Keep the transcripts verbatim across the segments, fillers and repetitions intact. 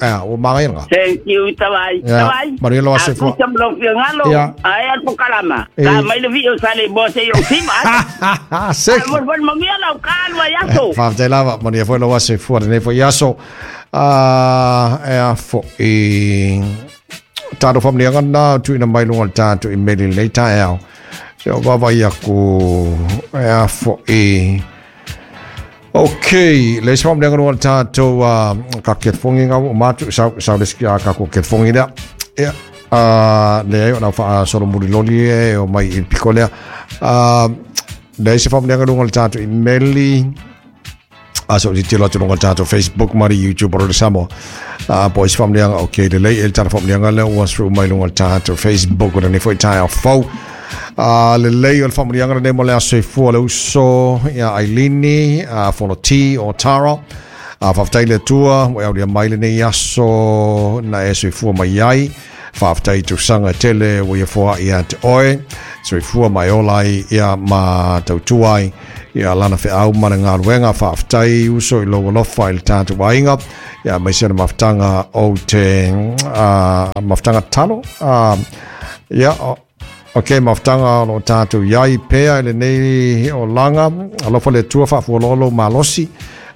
A ua magaia lagā. Thank you, Tavai. Ia, Tavai. manuia lou aso soifua. Tusa ma lou finagalo. Ia. Ae a le pokalama. E. Ta mai le vii o Saleimoa seia ou sima. Seki. Molimoli manuia lau ka alu ai aso. Faafetai lava, manuia foi lou aso soifua lenei foi aso. Ah, e a foʻi tatou faamanuiaga na tuuina mai luga o le tatou imeli lenei taeao. Se o vaavaai aku e a foʻi. Ok, le isi faamanuiaga luga o le tatou uh, ka kelefogi ga ua uma atu sau sau le isi ka ko kelefogi lea. Ia, uh, leai o lau faasolomuli loli e o mai i le piko lea. Uh, le isi faamanuiaga luga o le tatou imeli a so titilo atu luga o le tatou Facebook ma le YouTube o le Samoa. Uh, po isi faamanuiaga, ok, lelei e le tala faamanuiaga lea ua sru mai luga o le tatou Facebook o lenei foi taeao fou. Uh, lelei o le faamanuiaga lenei mo le aso soifua le uso ia Ailini, uh, Foloti o Tara. Uh, faafetai le Atua ua e aulia mai lenei aso na e soifua mai ai. Faafetai i tausaga e tele ua ia foaʻi ia te oe. Soifua ma e ola ai ia ma tautua ai ia lana feau ma le galuega. Faafetai uso i lou alofa i le tatou aiga. Ia aemaise o le mafutaga o te uh, mafutaga talo. Uh, ia, o, ok, mafutaga o loo tatou iai pea i lenei olaga. Alofa le Atua faafualoa lou malosi.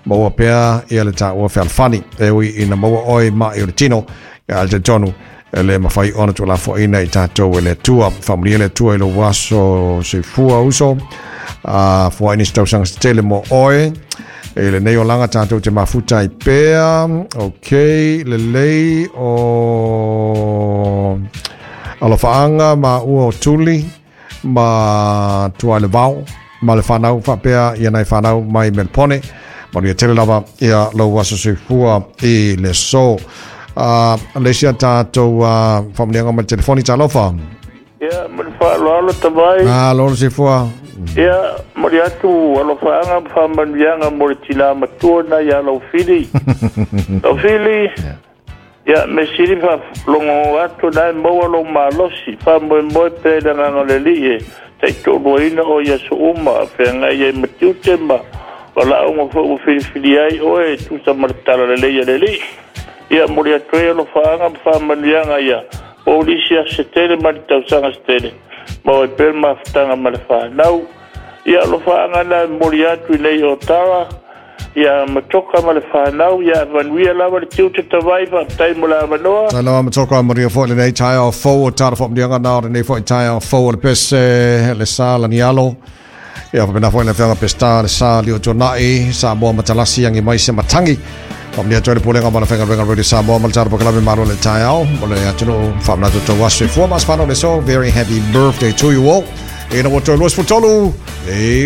Maua pea ia le taua fealofani. E ui ina maua oe maʻi o le tino. Ia le talitonu e le mafai ona tuulafoaina i tatou e le Atua. Faamanuia le Atua i lou aso soifua uso. Uh, foai nisi tausaga se tele mo oe. E lenei olaga tatou te mafuta ai pea. Ok, lelei o alofaaga ma ua o tuli ma tuai le vao ma le whanau faapea ia nai whanau mai Melpone. Manuia tele lava ia lou aso soifua i le so. Uh, le isi a tatou uh, faamanuiaga mai le telefoni talofa. Ia, ma le faaaloalo Tavai. Ah, lolo soifua. Ia, momoli atu alofaaga ma faamanuiaga mo le tinā matua na iā Laufili. Laufili, ia, me sili faalogo atu na e maua lou malosi, faamoemoe pea i le agaga o le Alii e taitoaluaina o i aso uma, feagai ai ma tiute ma valaauga foi ua filifili ai oe e tusa ma le tala lelei a le Alii. Ia, momoli atu ai alofaaga ma faamanuiaga ia maua nisi aso se tele ma ni tausaga se tele, maua ai pea le mafutaga ma le fanau. Ia, alofaaga na e momoli atu i nei o Tara, ia Matoka ma le fanau, ia manuia lava le tiute Tavai, faafetai mo le avanoa. Talofa Matoka, manuia foi lenei taeao fou o tala faamanuiaga na o lenei foi taeao fou o le pese le sa lanialo. Ia faapena foi le afioga Peseta le sa lio tuanai Samoa matalasi agi mai se matangi. Faamanuia atu ai le pulega ma le faigaluega Radio Samoa ma le tala pakalame malo le taeao mo le atunuu faamanatu tou aso soifua ma aso fanau le so. Very happy birthday to you all. Ina ua toe luasefulu tolu. E